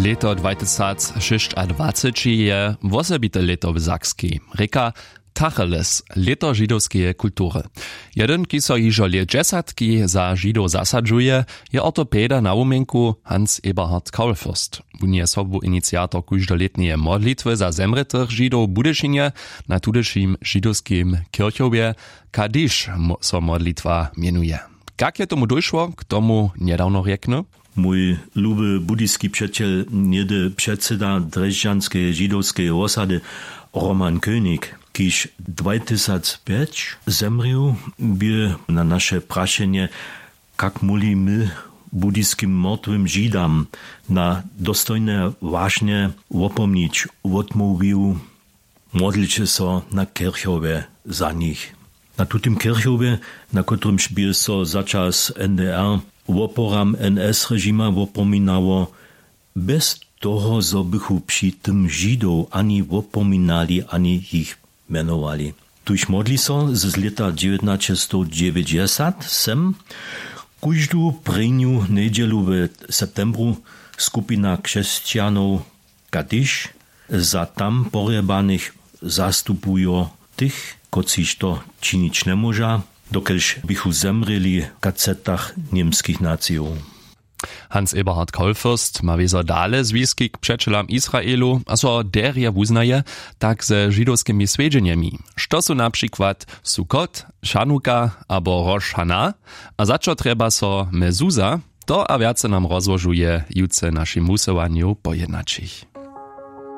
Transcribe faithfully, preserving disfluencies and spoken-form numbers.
Lěto dwajtysacšěsćadwaceći je wosebite lěto w sakskej, rěka, tacheles, lěto židowskeje kultury. Jedyn, kiž so hižo lět dźesatki za židow zasadźuje, je ortopeda na wuměnku, hans eberhard kaulfürst. Wón je sobu iniciator kóždolětneje modlitwy za zemrětych židow w budyšinje. Na tudyšim židowskim kirchowje kadiš, so modlitwa mjenuje. Kak je tomu dóšło, k tomu njedawno rjekny. Mój luby budyski přećel, něhdy předseda drježdźanskeje židowskeje wosady, roman könig, kiž dwajtysacpjeć zemrěł, bě na naše prašenje, kak móhli my budyskim mortwym židam na dostojne wašnje wopomnić, wotmołwił: Modlće so na kirchowje za nich. Na tutym kirchowje, na kotrymž bě so za čas n d r woporam n s režima wopominało, bjez toho zo bychu při tym židow ani wopominali ani jich mjenowali. Tuž modli so z lěta dźewjatnaćestowdźewjećdźesat sem kóždu prěnju njedźelu w septembru skupina křesćanow kadiš za tam porjebanych zastupujo tych, kotřiž to činić njemóža, dokelž běchu zemrěli w kacetach němskich nacijow. Hans eberhard kolfürst ma wězo dale zwiski k přećelam israelu a so derje wuznaje, tak ze židowskimi swjedźenjemi, što su na přikład sukot, šanuka abo roš hana, a za čo trjeba so mezuza, to a wjace nam rozłožuje jutře w našim wusyłanju po jednaćich.